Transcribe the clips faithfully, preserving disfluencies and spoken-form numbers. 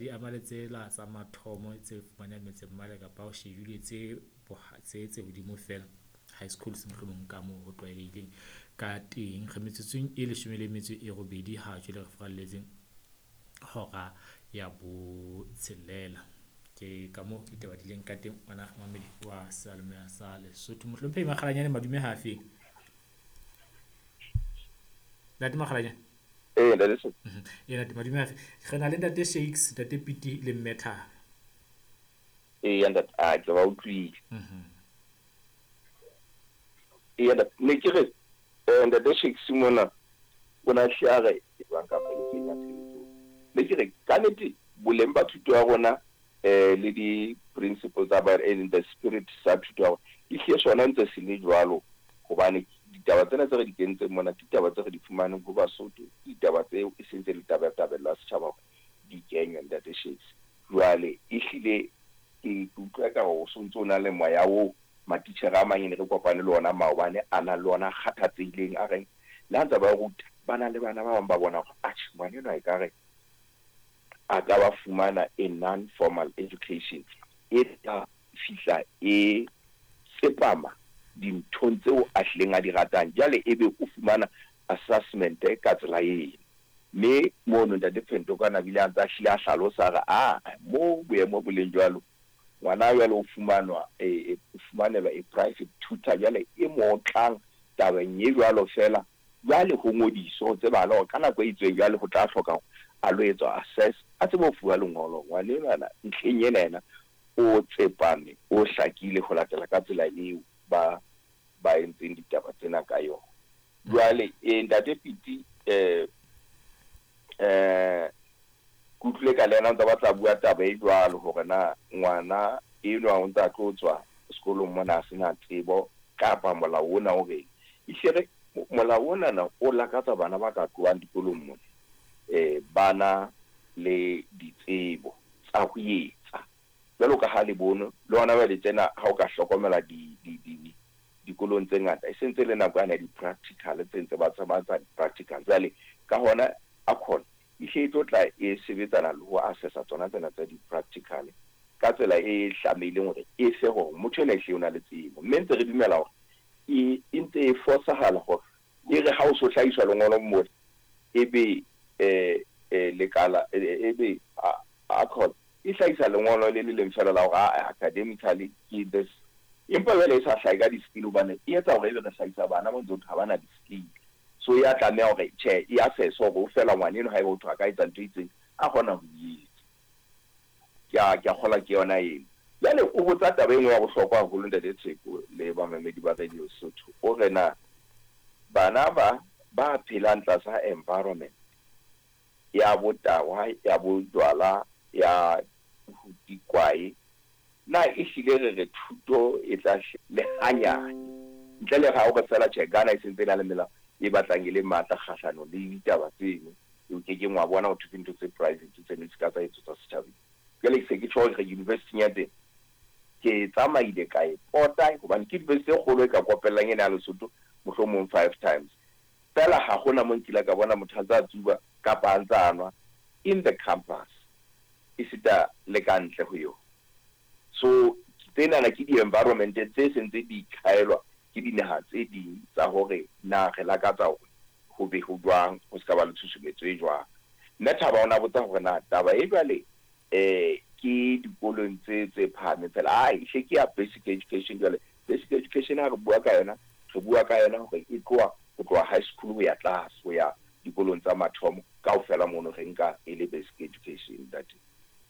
Di ama le tsela tsa mathomo tse fumanehang metseng mane kapa o shebile tse tse tse hodimo fela high schools mohlomong ka moo ho tlwaelehileng ka teng. Re metsotsong e leshome le metso e robedi ha jwale re furaletse hora ya botshelela. Ke ka moo ditaba di leng ka teng ngwana momamedi wa seyalemoya sa Lesotho. Mohlomphehi Makgalanyane madume ha feng? Ntate Makgalanyane. Eh ntate Sotho. Eh ntate madume ha fe? Re na le ntate Shakes, ntate Piti le Mme Thabo. Eh ntate a ke ba utlwile. Mhm. Eh ntate ne ke re eh ntate Shakes mona o na hle a re jwang kapa e kenya tshebetsong. Ne ke re ka nnete boleng ba thuto ya rona eh le di principles tsa ba e leng the spirit sa thuto ya rona ehlile sona ntse se le jwalo hobane ditaba tsena tse re di kentseng mona ke ditaba tse re di fumaneng ho Basotho, ke ditaba tseo e sentse le tabatabelo ya setjhaba hore di kenywe ntate Shakes. Jwale ehlile ke utlwa ekare o sontso o na le moya oo matitjhere a mang e ne re kopane le ona maobane a nang le ona a kgathatsehileng a reng le ha ntse ba ruta ba na le bana ba bang ba bona hore atjhe ngwana enwa ekare a ka ba fumana a non-formal education e tla fihla e tsepama dinthong tseo a hlileng a di ratang. Jwale ebe o fumana assessment ka tsela eno. Mme mono ntate Phentokwana a bile a ntse a hlile a hlalosa a re a mo boemo bo leng jwalo ngwana jwale o fumanwa e o fumanelwa a private tutor jwale e mo otlang tabeng e jwalo fela. Jwale ho ngodiswa ho tsebahale hore ka nako e itseng jwale ho tla hloka hore a lo etswa assess a tsebe ho fuwa lengolo ngwana enwana ntlheng ena yena o tsepame o hlakile ho latela ka tsela eo ba ba entseng ditaba tsena ka yona. Jwale eh ntate Piti eh eh ke utlwile ka le yena o ntsa batla bua taba e jwalo hore na ngwana enwa o ntsa tlo tswa sekolong mona a sena tsebo kapa molao ona o reng. Ehlile re molao onana o lakatsa bana ba ka tlohang dikolong mona eh bana le ditsebo tsa ho etsa jwalo ka ha le bono le hona jwale tsena ha o ka hlokomela di di di dikolong tse ngata e sentse le nako yane ya di-practical tse ntse ba tsa di-practical. Jwale ka hona ACON ehlile e tlo tla e sebetsana le ho assessa tsona tsena tsa di-practical ka tsela e tlamehileng hore e fe hore motho enwa ehlile o na le tsebo. Mme ntse re dumela hore e e ntse e fosahala hore e re ha o so hlahiswa lengolo mona ebe eh eh lekala ebe ACON e hlahisa lengolo le le leng fela la hore a academically ke this empa jwale e sa hlahe ka di-skill hobane e etsa hore ebe re hlahisa bana ba ntse ho thwe ha bana di-skill. So ya tlameha hore tjhe e assess hore o fela ngwana eno haeba ho thwe a ka etsa ntho e itseng a kgona ho e etsa. Ke a ke a kgolwa ke yona eno. Jwale o botsa taba e nngwe ya bohlokwa haholo ntate Tsheko le bamamedi ba Radio Sotho. O re na bana ba ba phelang tlasa environment ya botahwa ya bojwala ya dikwae na ehlile re re thuto e tla le hanyane ntle le ha hore fela tjhe Ghana e sentse e na le melao e batlang e le matla kgahlanong le ditaba tseno o ke keng wa bona ho thwe ke ntho tse private tseno di ska tsa etsetswa setjhabeng. Jwale ke se ke tjho hore university ya teng ke tsamaile ka e pota hobane ke university e kgolo e ka kopellang ena ya Lesotho mohlomong five times. Fela ha hona mo nkile ka bona motho a ntsa tsuba kapa a ntsa nwa in the campus esita le ka ntle ho yona. So tsenana ke di-environment tse sentse di ikhaelwa ke dinaha tse ding tsa hore na re lakatsa hore ho be ho jwang ho ska ba le tshusumetso e jwang. Mme Thaba o na botsa hore na taba e jwale eh ke dikolong tse tse phahameng fela ai hle ke ya basic education. Jwale basic education ha re bua ka yona re bua ka yona hore e tloha ho tloha high school ho ya tlase ho ya dikolong tsa mathomo kaofela mono re nka e le basic education ntate.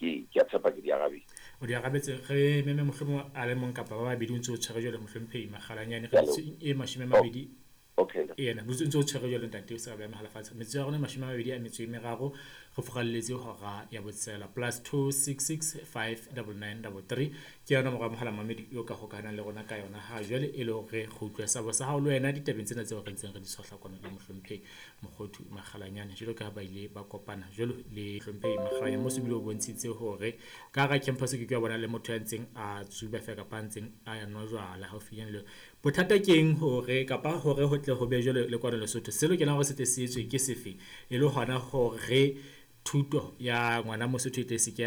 Ke ke a tshepa ke di arabile. O di arabetse re meme mohlomong a le mong kapa ba babedi o ntse o tshwere jwale mohlomphehi Makgalanyane re e mashome a mabedi. Okay. Yena motso ntse o tshwere jwale ntate o sa beha mohala fatshe. Metsotso ya rona e mashome a mabedi a metso e meraro re furalletse hora ya botsela plus two six six five double nine double three ke yona nomoro ya mohala mamedi eo ka hokahanang le rona ka yona ha jwale e le hore re utlwe sabo sa hao le wena ditabeng tsena tseo re ntseng re di tshohla kwano le mohlomphehi Mokgothu Makgalanyane jwalo ka ha ba ile ba kopana jwalo le mohlomphehi Makgalanyane mo se bile o bontshitse hore ka hara campus ke ke wa bona le motho ya ntseng a tsuba fela kapa a ntseng a nwa jwala haufinyane le bothata keng hore kapa hore ho tle ho be jwalo le kwano Lesotho se lokelang hore se tle se etswe ke sefe e le hona hore thuto ya ngwana Mosotho e tle se ke